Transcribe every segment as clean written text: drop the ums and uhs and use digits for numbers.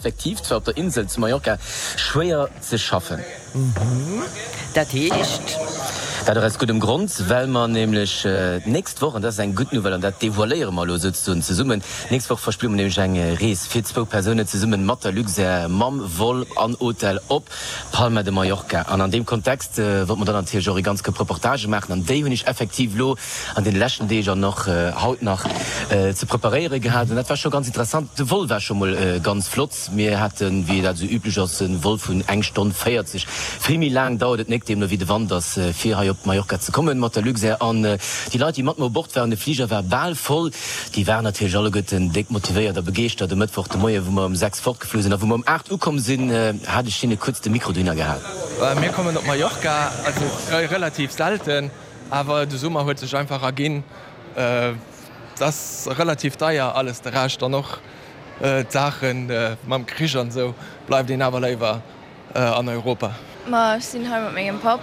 Effektiv zwar op der Insel zu Mallorca schwéier ze schaffen. Dat heescht? Dat och aus guddem Grond, well mer nämlech d'nächst Woch, an dat ass eng gutt Nouvelle an dat devoiléiere mer elo souzesoen zesummen, d'nächst Woch verspille mer nämlech eng Rees fir zwou Persounen zesumme mat der Luxair mam Vol an Hotel op Palma de Mallorca. An an deem Kontext wollte mer dann natierlech och e ganz Koup Reportagë maachen an déi hunn ech effektiv elo an deene leschten Deeg an och haut nach ze preparéiere gehat. An dat war scho ganz interessant. De Vol war scho mol ganz flott. Mir haten, wéi dat esou üblech ass, e Vol vun eng Stonn 40. Vill méi laang dauert et nek, deemno wéi de Wand ass, fir hei op Mallorca ze kommen mat der Luxair. An déi Leit, déi mat mer u Bord waren, de Fliger war bal voll, déi waren natierlech alleguerten déck motivéiert a begeeschtert. E Mëttwoch de Moie wou mer um 6 fortgeflu sinn a wou mer um 8 ukomm sinn, hat ech hinne kuerz de Mikro dohinner gehal. Mir kommen op Mallorca, also relativ selten. Awer de Summer huet sech einfach erginn, et ass relativ deier alles, de Rescht an och d'Saache mam Krich an esou, bleift een awer léiwer an Europa. Ma ech sinn hei mat mengem Papp,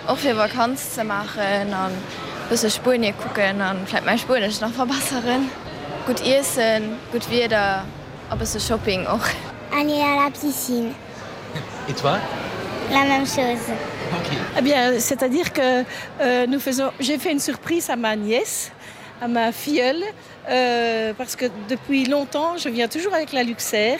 och fir Vakanz ze maachen an bësse Spuenie kucken an vläit mäi Spuenesch nach verbesseren. Gutt iessen, gutt Wieder a bësse Shopping och. Aller à la piscine. Et toi? La même chose. Ok. Eh bien, c'est-à-dire que euh, nous faisons j'ai fait une surprise à ma nièce, à ma filleule euh, parce que depuis longtemps je viens toujours avec la Luxair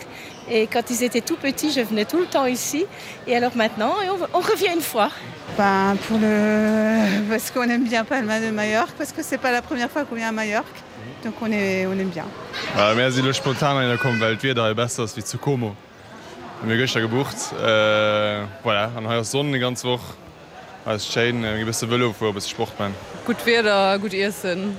et quand ils étaient tout petits, je venais tout le temps ici et alors maintenant et on, on revient une fois. Ben, pour le parce qu'on aime bien Palma de Majorque parce que c'est pas la première fois qu'on vient à Majorque donc on est on aime bien. Äh, mir si lo spontan heihinner komm, well d'Wieder hei besser ass wéi zu Como. Hu mir gëschter gebucht. Voilà, an hei ass Sonn déi ganz Woch. Hei ass schéin, mir gi bësse Vëlo fueren, bësse Sport man. Gutt Wieder, gutt Iessen,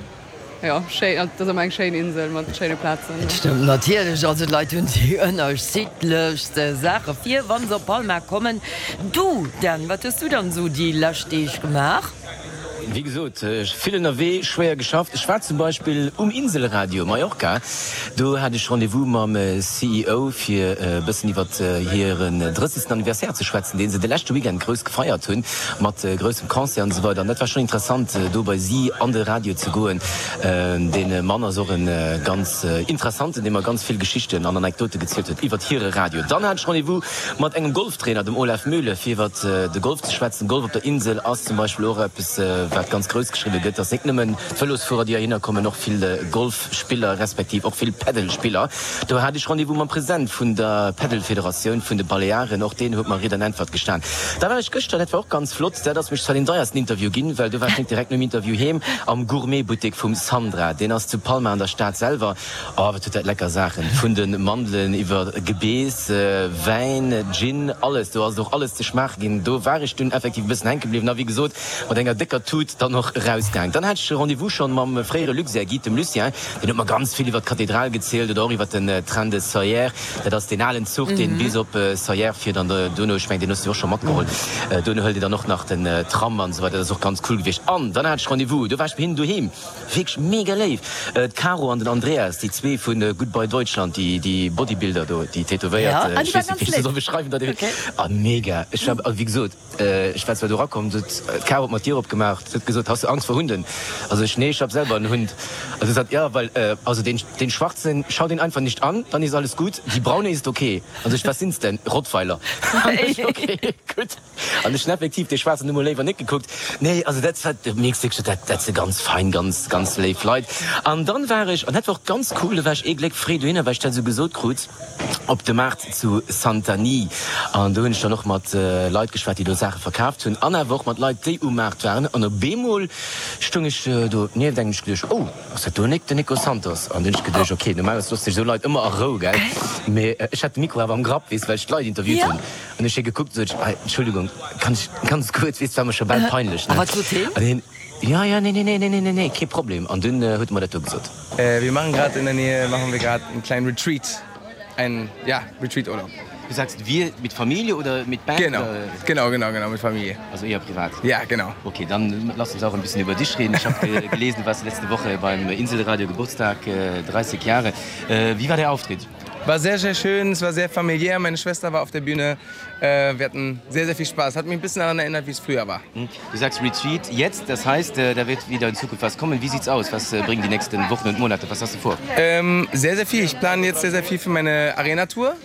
jo schéin, et ass ëmmer eng schéin Insel mat schéine Plazen. Et stëmmt natierlech, also d'Leit hunn déi ënnerschiddlechste Saache vir, wa se op Palma kommen. Du Dan, wat hues du dann esou déi lescht Deeg gemaach? Wéi gesot, vill ënnerwee, schwéier geschafft. Ech war zum Beispill um Inselradio Mallorca. Do hat ech Rendez-vous mam CEO, fir e bëssen iwwert hiren drëssegsten Anniversaire ze schwätzen, dee se de leschte Weekend grouss gefeiert hunn, mat groussem Concert an esou weider. An dat war schonn interessant, do bei si an de Radio ze goen. Dee Mann ass och e ganz interessanten, dee mer ganz vill Geschichten an Anekdote gezielt huet iwwert hire Radio. Dann hat ech Rendez-vous mat engem Golftrainer, dem Olaf Mühle, fir iwwert de Golf ze schwätzen. Golf op der Insel ass zum Beispill och eppes, wat ganz grouss geschriwwe gëtt. Dass net nëmmen d'Vëlosfuerer, déi heihinner kommen, och vill Golfspiller, respektiv och vill Paddle-Spiller. Do hat ech Rendez-vous mam President vun der Paddle-Federatioun vun de Balearen. Och deen huet mer Ried an Äntwert gestan. Da war ech gëschter, dat war och ganz flott, dat ass mech zwar deen deiersten Interview ginn, well do war ech net direkt nom Interview heem, am Gourmet-Buttek vum Sandra. Deen ass zu Palma an der Stad selwer. Oh, wat huet dat lecker Saachen, vun de Mandelen iwwer Gebeess, Wäin, Gin, alles. Do ass et och alles ze schmaache ginn. Do war ech dunn effektiv e bëssen hänke bliwwen a wéi gesot mat enger décker Tut dann och erausgaang. Dann hat ech e Rendez-vous schonn mam fréiere Luxair-Guide, dem Lucien. Deen huet mer ganz vill iwwer d'Kathedral gezielt oder och iwwer den Train de Sóller. Dat ass deen alen Zuch, deen bis op Sóller fiert an duerno, ech mengen, deen hues du och scho matgeholl, duerno hëlt een dann och nach den Tram an esou weider. Dat ass och ganz cool gewiescht. An dann hat ech Rendez-vous, do war ech bei hinnen doheem. Wierklech mega léif! D'Caro an den Andreas, déi zwee vu Goodbye Deutschland, déi Bodybuilder do, déi tätowéiert, ech weess net wéi ech se soll beschreiwen, dat ah mega! Ech war, also wéi gesot, ech war zwar do erakomm, sot d'Caro huet mer d'Dier opgemaach, huet gesot, Hast du Angst vor Hunden? Also ech, Nee, ech hab selber en Hund. Also sot, Ja, weil, also den, den schwarzen, schau den einfach nicht an, dann ist alles gut, die braune ist okay. Also ech, Was sind's denn? Rottweiler. An ech, Okay, gutt. An ech hunn effektiv dee schwaarzen Numm mol léiwer net gekuckt. Nee, also dat war, du mierks wierklech, dat, dat si ganz fein, ganz, ganz léif Leit. An dann war ech, an dat war och ganz cool, do war ech ee Gléck fréi dohinner, well ech dat esou gesot krut, op de Maart zu Santanyí. An do hunn ech dann och mat Leit geschwat, déi do Saache verkaaft hunn, an awer och mat Leit, déi um Maart waren. An op eemol stoung ech do nieft engem, ech geduecht, oh, ass dat do den Nico Santos? An dunn hunn ech geduecht, okay, normalerweis loosse sech esou Leit ëmmer a Rou, gell? Mee ech hat de Mikro awer am Grapp, weess, well ech d'Leit interviewt hunn. An ech hie gekuckt, sot ech, Ei, Entschuldigung, kann ech ganz kuerz, weess, war mer scho bal peinlech, A ne? wat sot heen? An hien, Ja, ja, nee, nee, nee, nee, nee, nee, kee Problem. An dunn huet e mer dat do gesot. Wir machen grad in der Nähe, machen wir grad einen kleinen Retreat, einen, ja, Retreat-Urlaub. Du sagst wir, mit Familie oder mit Band? Genau, genau, genau, genau, mit Familie. Also eher privat? Ja, genau. Okay, dann lass uns auch ein bisschen über dich reden. Ich habe gelesen, du warst letzte Woche beim Inselradio Geburtstag, 30 Jahre. Wie war der Auftritt? War sehr, sehr schön, es war sehr familiär, meine Schwester war auf der Bühne, wir hatten sehr, sehr viel Spaß. Hat mich ein bisschen daran erinnert, wie es früher war. Du sagst Retreat jetzt, das heißt, da wird wieder in Zukunft was kommen. Wie sieht's aus? Was bringen die nächsten Wochen und Monate? Was hast du vor? Ähm, sehr, sehr viel. Ich plane jetzt sehr, sehr viel für meine Arena-Tour.